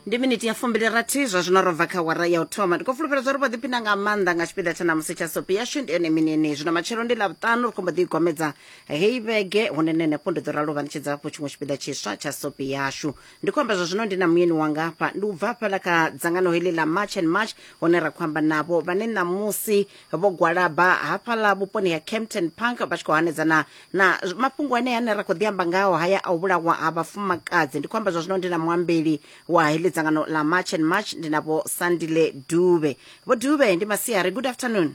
Ndi miniti ya fumbili rathi zwa zwino ro bva kha wara ya u thoma. Ndi khou fulufhela zwa uri vho ḓiphina nga maanḓa nga tshipiḓa tsha ṋamusi tsha sopi yashu. Ndi yone mini yeneyi. Zwino matshelo ndi Ḽavhuṱanu, ri khou mbo ḓi gomedza heyi vhege hune nṋe henefho ndi ḓo ralo vha ṋetshedza hafhu tshiṅwe tshipiḓa tshiswa tsha sopi yashu. Ndi khou amba zwa zwino ndi na muyeni wanga hafha, ndi u bva hafhaḽa kha dzangano heḽi ḽa March and March hune ra khou amba navho vhane ṋamusi vho gwalaba hafhaḽa vhuponi ha Kempton Park vha tshi khou hanedzana na mafhungo ane ane ra khou ḓi amba ngaho haya a u vhulawa ha vhafumakadzi. Ndi khou amba zwa zwino ndi na muambeli wa heḽi dzangano ḽa March and March, ndi na Vho Sandile Dube. Vho Dube, ndi masiari, good afternoon.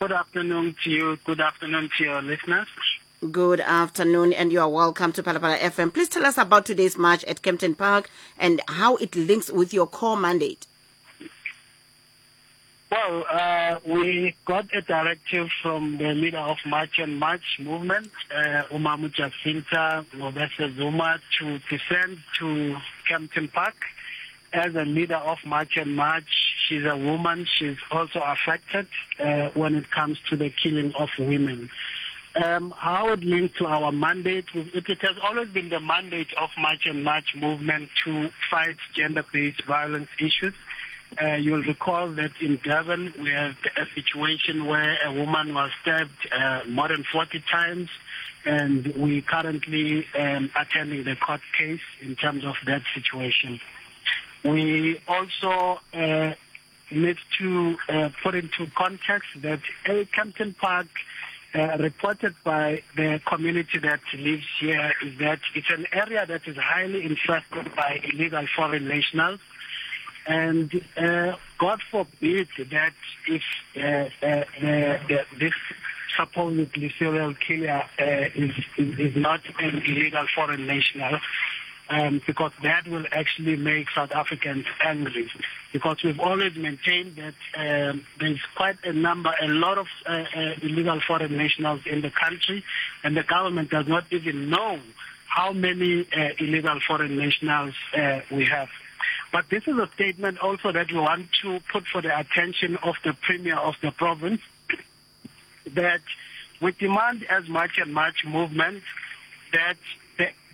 Good afternoon to you. Good afternoon to your listeners. Good afternoon, and you are welcome to Phalaphala FM. Please tell us about today's march at Kempton Park and how it links with your core mandate. Well, uh, we got a directive from the leader of March and March movement, uh, Umamu Jacinta Ngobese Zuma, to descend to Kempton Park. As a leader of March and March, she's a woman. She's also affected uh, when it comes to the killing of women. Um, how it links to our mandate, it, it has always been the mandate of March and March movement to fight gender-based violence issues. Uh, you'll recall that in Durban we had a situation where a woman was stabbed uh, more than 40 times, and we currently um, attending the court case in terms of that situation. We also uh, need to uh, put into context that A. Kempton Park, uh, reported by the community that lives here, is that it's an area that is highly infested by illegal foreign nationals. And uh, God forbid that if uh, uh, the, the, this supposedly serial killer uh, is, is, is not an illegal foreign national, um, because that will actually make South Africans angry. Because we've always maintained that um, there's quite a number, a lot of uh, uh, illegal foreign nationals in the country, and the government does not even know how many uh, illegal foreign nationals uh, we have. But this is a statement also that we want to put for the attention of the Premier of the province, that we demand as much and much movement that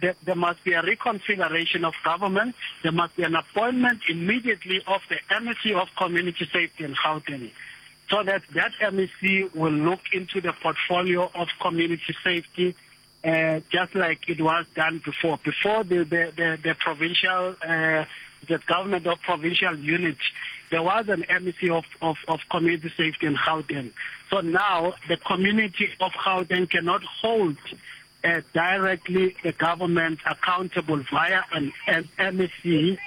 there, there must be a reconfiguration of government. There must be an appointment immediately of the MEC of Community Safety in Gauteng, so that that MEC will look into the portfolio of community safety, uh, just like it was done before. Before the, the, the, the provincial, uh, the government of provincial units, there was an MEC of, of, of community safety in Gauteng. So now the community of Gauteng cannot hold uh, directly the government accountable via an, an MEC.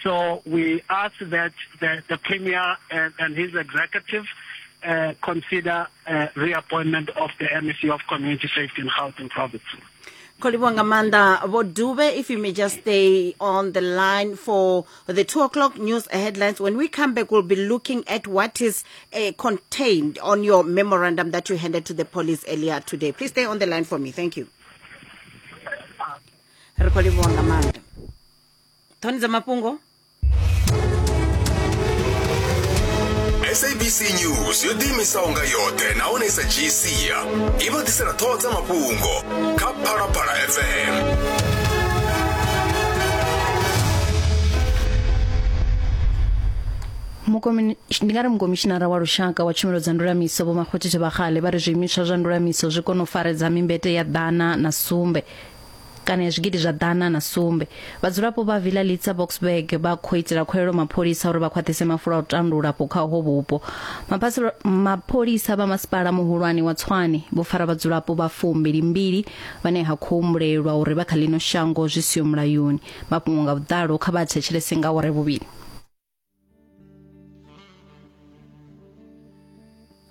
So we ask that the, the Premier and, and his executive uh, consider uh, reappointment of the MEC of Community Safety in Gauteng Province. Khou livhuwa nga maanḓa Vho Dube. If you may just stay on the line for the 2 o'clock news headlines. When we come back, we'll be looking at what is uh, contained on your memorandum that you handed to the police earlier today. Please stay on the line for me. Thank you. Ri khou livhuwa nga maanḓa. Ṱhoni dza mafhungo. Sabc News yo ḓiimisaho nga yoṱhe nahone i sa dzhii sia i vha ḓisela ṱhoho dza mafhungo kha Phalaphala FM. Ndi nga ri mukomishinara wa lushaka wa tshumelo dza ndulamiso Vho Makgothe Thobakgale vha ri zwiimiswa zwa ndulamiso zwi kona u faredza mimbete ya 107 kana ya zwigidi zwa 107. Vhadzulapo vha Villa Litsa Boksburg vha khou itela khuwelelo mapholisa uri vha khwaṱhise mafulo a u tandula afho kha uho vhupo. Mapholisa vha masipala muhulwane wa Tshwane vho fara vhadzulapo vha 22 vhane ha khou humbulelwa uri vha kha ḽino shango zwi siho mulayoni. Mafhungo nga vhuḓalo kha vha a thetshelese nga awara ya vhuvhili.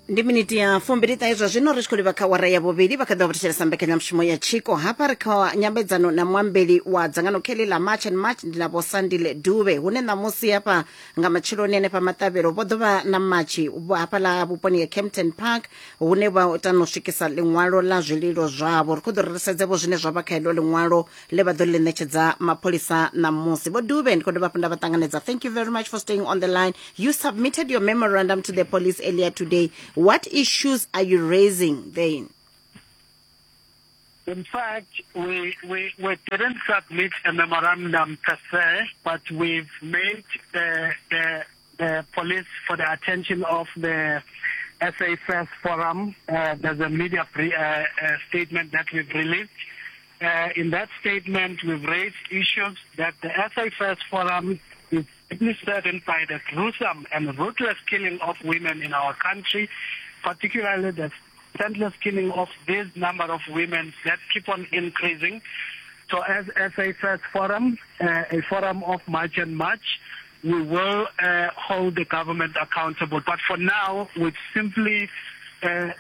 Ndi miniti ya fumbili ṱahe zwa zwino ri tshi khou livha kha wara ya vhuvhili. Vha kha ḓi vha thetshelesa mbekanyamushumo ya tshiko. Hafha ri kha nyambedzano na muambeli wa dzangano kheli ḽa March and March, ndi na Vho Sandile Dube, hune ṋamusi hafha nga matsheloni hanefha maṱavhelo vho ḓo vha na matshi hafhaḽa vhuponi ha Kempton Park, hune vha ita no swikisa ḽiṅwalo ḽa zwililo zwavho. Ri khou ḓo ri sedze vho zwine zwa vha kha heḽo ḽiṅwalo ḽe vha ḓo ḽi ṋetshedza mapholisa ṋamusi. Vho Dube, ndi khou dovha hafhu nda vha ṱanganedza. Thank you very much for staying on the line. You submitted your memorandum to the police earlier today. What issues are you raising then? In fact, we, we, we didn't submit a memorandum per se, but we've made the, the, the police for the attention of the SA First Forum. There's a media pre, statement that we've released. In that statement, we've raised issues that the SA First Forum is deeply saddened by the gruesome and ruthless killing of women in our country, particularly the senseless killing of this number of women that keep on increasing. So as SA First Forum, a forum of March and March, we will hold the government accountable. But for now, we're simply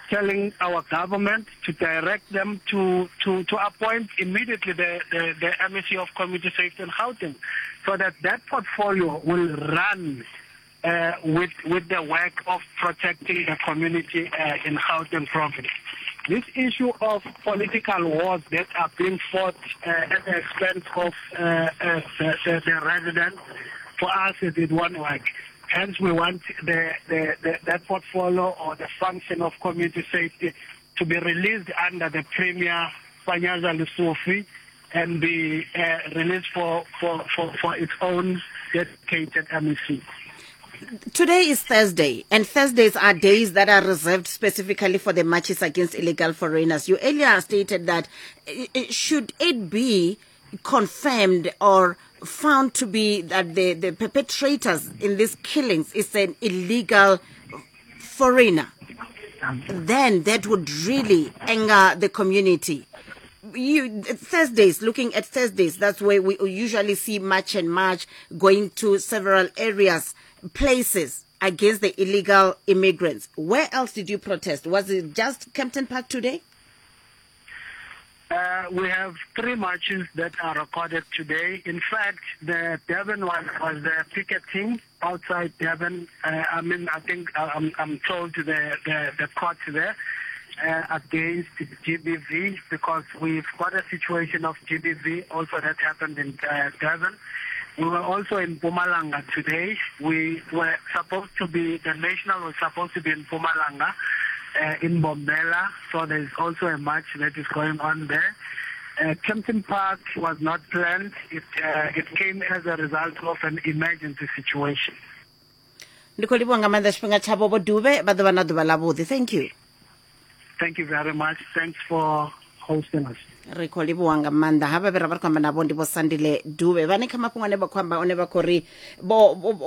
telling our government to direct them to, to, to appoint immediately the, the, the MEC of Community Safety and Housing so that that portfolio will run with, with the work of protecting the community in Gauteng province. This issue of political wars that are being fought at the expense of the, the, the residents, for us it, it won't work. Hence, we want the, the, the, that portfolio or the function of community safety to be released under the Premier Panyaza Lesufi and be released for, for, for, for its own dedicated MEC. Today is Thursday, and Thursdays are days that are reserved specifically for the marches against illegal foreigners. You earlier stated that should it be confirmed or found to be that the, the perpetrators in these killings is an illegal foreigner, then that would really anger the community. You, Thursdays, looking at Thursdays, that's where we usually see march and march going to several areas, places against the illegal immigrants. Where else did you protest? Was it just Kempton Park today? We have three marches that are recorded today. In fact, the Durban one was the picketing outside Durban. I mean, I think I'm, I'm told the, the, the court there against GBV because we've got a situation of GBV also that happened in Durban. We were also in Mpumalanga today. We were supposed to be, the national was supposed to be in Mpumalanga, in Bombela. So there's also a march that is going on there. Kempton Park was not planned. It, it came as a result of an emergency situation. Ndi khou livhuwa nga maanḓa tshifhinga tshavho vho Dube vha ḓo vha na ḓuvha ḽavhuḓi. Thank you. Thank you very much. Thanks for hosting us. Ri khou livhuwa nga maanḓa havha vhe ra vha ri khou amba navho ndi vho Sandile Dube vhane kha mafhungo ane vha khou amba one vha khou ri vho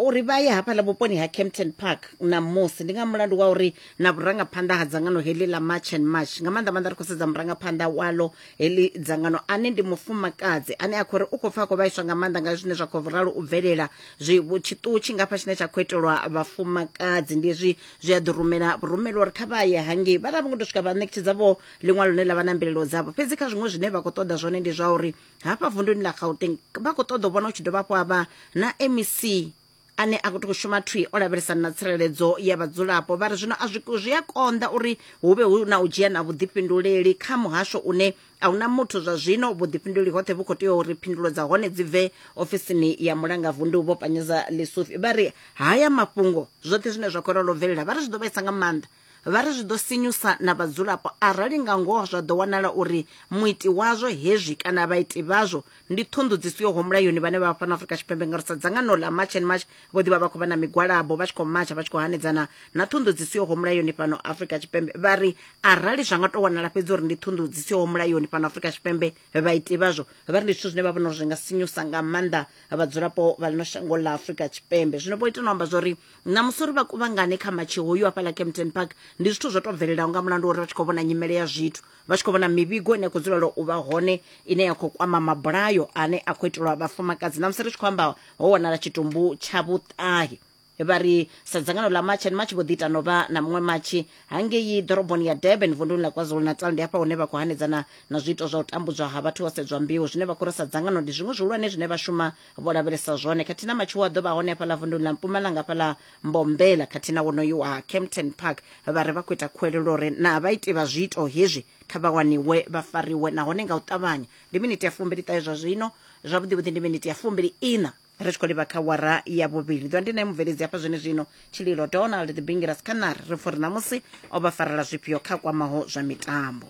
uri vha ye hafhaḽa vhuponi ha Kempton Park ṋamusi ndi nga mulandu wa uri na vhurangaphanḓa ha dzangano heḽi ḽa March and March nga maanḓa maanḓa ri khou sedza murangaphanḓa walo heḽi dzangano ane ndi mufumakadzi ane a khou ri u khou pfa a khou vhaiswa nga maanḓa nga zwine zwa khou ralo u bvelela zwi tshiṱuhu tshingafha tshine tsha khou itelwa vhafumakadzi ndi hezwi zwi a ḓi rumela vhurumeli uri kha vha ye hangei vha ra vho ngo tou swika vha ṋetshedza vho ḽiṅwalo ḽine ḽa vha na mbilelo dzavho fhedzi kha zwiṅwe zwine vha khou ṱoḓa zwone ndi zwa uri hafha vunduni ḽa Gauteng vha khou ṱoḓa u vhona hu tshi dovha hafhu ha vha na MEC ane a khou tou shuma thwi o lavhelesana na tsireledzo ya vhadzulapo vha ri zwino a zwi zwi a konḓa uri hu vhe hu na u dzhia na vhuḓifhinduleli kha muhasho une a huna muthu zwa zwino vhuḓifhinduleli hoṱhe vhu khou tea uri phindulo dza hone dzi bve ofisini ya mulangavundu vho Panyaza Lesufi vha ri haya mafhungo zwoṱhe zwine zwa khou ralo bvelela vha ri zwi ḓo vhaisa nga maanḓa Vha ri zwi ḓo sinyusa na vhadzulapo arali nga ngoho zwa ḓo wanala uri muiti wazwo hezwi kana vhaiti vhazwo ndi ṱhunḓu dzi sihoho mulayoni vhane vha vha fhano Afrika Tshipembe ngauri sa dzangano ḽa March and March vho ḓi vha vha khou vha na migwalabo vha tshi khou matsha vha tshi khou hanedzana na ṱhunḓu dzi sihoho mulayoni fhano Afrika Tshipembe. Vha ri arali zwa nga tou wanala fhedzi uri ndi ṱhunḓu dzi sihoho mulayoni fhano Afrika Tshipembe vhaiti vhazwo vha ri ndi zwithu zwine vha vhona uri zwi nga sinyusa nga maanḓa vhadzulapo vha ḽino shango ḽa Afrika Tshipembe. Zwino vho ita na u amba zwori Ṋamusi uri vha kuvhangane kha matshi hoyu hafhaḽa Kempton Park ndi zwithu zwo tou bvelelaho nga mulandu wa uri vha tshi khou vhona nyimele ya zwithu, vha tshi khou vhona mivhigo ine ya khou dzulela u vha hone ine ya khou kwama mabulayo ane a khou itelwa vhafumakadzi. Ṋamusi ri tshi khou amba ho wanala tshitumbu tsha vhuṱahe. Vha ri sa dzangano ḽa March and March vho ḓi ita no vha na muṅwe matshi hangei ḓoroboni ya Durban vunduni ḽa KwaZulu-Natal. Ndi hafha hune vha khou hanedzana na zwiito zwa u tambudzwa ha vhathu ho sedzwa mbeu zwine vha khou ri sa dzangano ndi zwiṅwe zwihulwane zwine vha shuma vho lavhelesa zwone khathihi na matshiwo a ḓo vha hone hafhaḽa vunduni ḽa Mpumalanga hafhaḽa Mbombela khathihi na wonoyu wa Kempton Park vha ri vha khou ita khuwelelo uri na vhaiti vha zwiito hezwi kha vha waniwe vha fariwe nahone nga u ṱavhanya. Ndi miniti ya 25 zwa zwino, zwavhuḓivhuḓi ndi miniti ya 24 ri tshi khou livha kha wara ya vhuvhili. Ḓwa ndi nae mubveledzi hafha zwene zwino Tshililo Donald the Bingiras Khanar ri pfa uri ṋamusi o vha farela zwifhio kha kwamaho zwa mitambo.